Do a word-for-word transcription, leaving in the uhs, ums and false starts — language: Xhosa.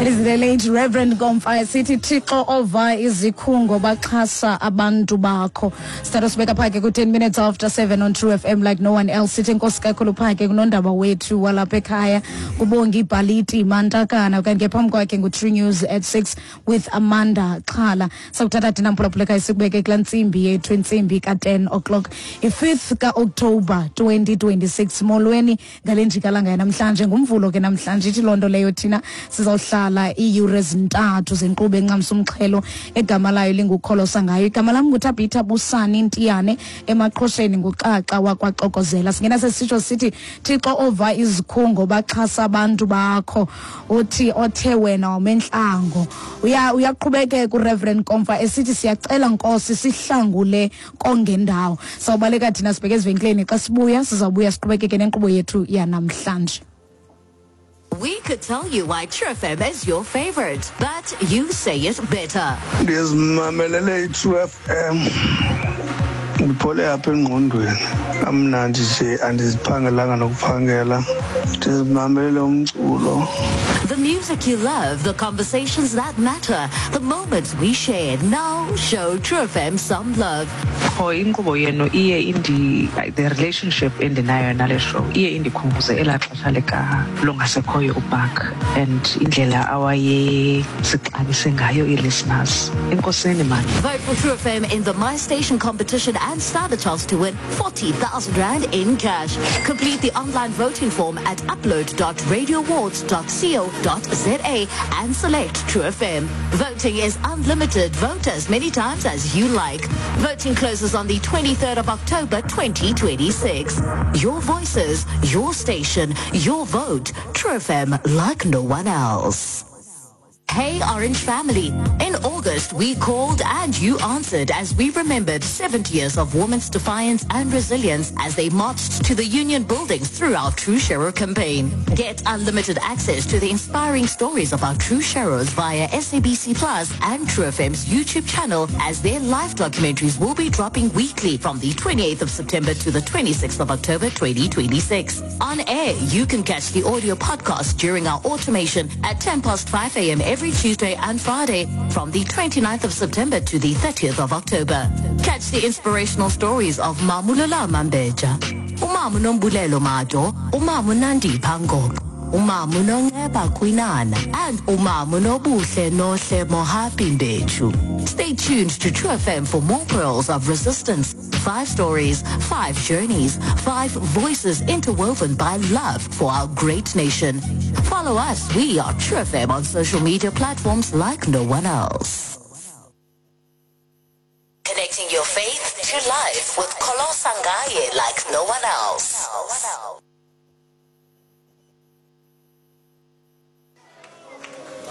It is the late Reverend Nkomfa esithi, "Thixo ova izikhungo, baxhasa abantu bakho." Sithatha sibeka phake ku-ten minutes after seven on True F M like no one else. Sithi enkosi kakhulu phake kunondaba wethu walapha ekhaya, kubonga ibhaliti mantakana. Kanti ke phambi kwakhe ngu-True News at six with Amanda Xhala. Sakuthatha thina, mphulaphuleka, sikubeke kulaa ntsimbi yethu, intsimbi ka-ten o'clock, i-fifth ka-October twenty twenty-six. Molweni ngale njikalanga yanamhlanje. Ngumvulo ke namhlanje. Ithi loo nto leyo thina sizawuhlala iiyure ezintathu zenkqubo encamsa umxhelo egama layo lingukholosa ngayo. Igama lam nguThabitha Busani Ntiyane, emaqhosheni nguxaxa wakwaxokozela. Singena sesitsho sithi, "Thixo ova izikhungo, baxhasa abantu bakho," uthi othe wena wamenhlango. Uya uyaqhubekeka uReverend Nkomfa esithi, "Siyacela Nkosi, sihlangule kongendawo." Sawubaleka thina sibheke ezivenkileni. Xa sibuya sizawubuya siqhubekeke nenkqubo yethu yanamhlanje. We could tell you why True F M is your favorite, but you say it better. Ndizimamelele i-True F M, ndiphole apha engqondweni, kamnandi nje, andiziphangelanga nokuphangela, ndizimamelele umculo. The music you love, the conversations that matter, the moments we share. Now show True F M some love. Qho inkqubo yenu iye indi the relationship endinayo nale show iye indikhumbuze elaa xesha lika longasekhoyo uBark and indlela awayesixabise ngayo ii-listeners. Enkosini mani. Vote for True F M in the My Station competition and stand a chance to win forty thousand rand in cash. Complete the online voting form at upload dot radioawards dot co dot za and select True F M. Voting is unlimited. Vote as many times as you like. Voting closes on the twenty-third of October twenty twenty-six. Your voices, your station, your vote. True F M like no one else. Hey Orange family. In August, we called and you answered as we remembered seventy years of women's defiance and resilience as they marched to the union buildings through our True Sharer campaign. Get unlimited access to the inspiring stories of our True Sharers via S A B C Plus and True F M's YouTube channel, as their live documentaries will be dropping weekly from the twenty-eighth of September to the twenty-sixth of October twenty twenty-six. On air, you can catch the audio podcast during our automation at ten past five a m every Tuesday and Friday from the twenty-ninth of September to the thirtieth of October. Catch the inspirational stories of Mamulala Mambeja, Umamu Nombulelo Majo, Umamu Nandi Pango, Umamu Nongeba Kwinana, and Umamu Nobuhle Nohle Mohapi Mbechu. Stay tuned to True F M for more pearls of resistance. Five stories, five journeys, five voices interwoven by love for our great nation. Follow us. We are True F M on social media platforms like no one else. Connecting your faith to life with Kholosa Ngaye like no one else.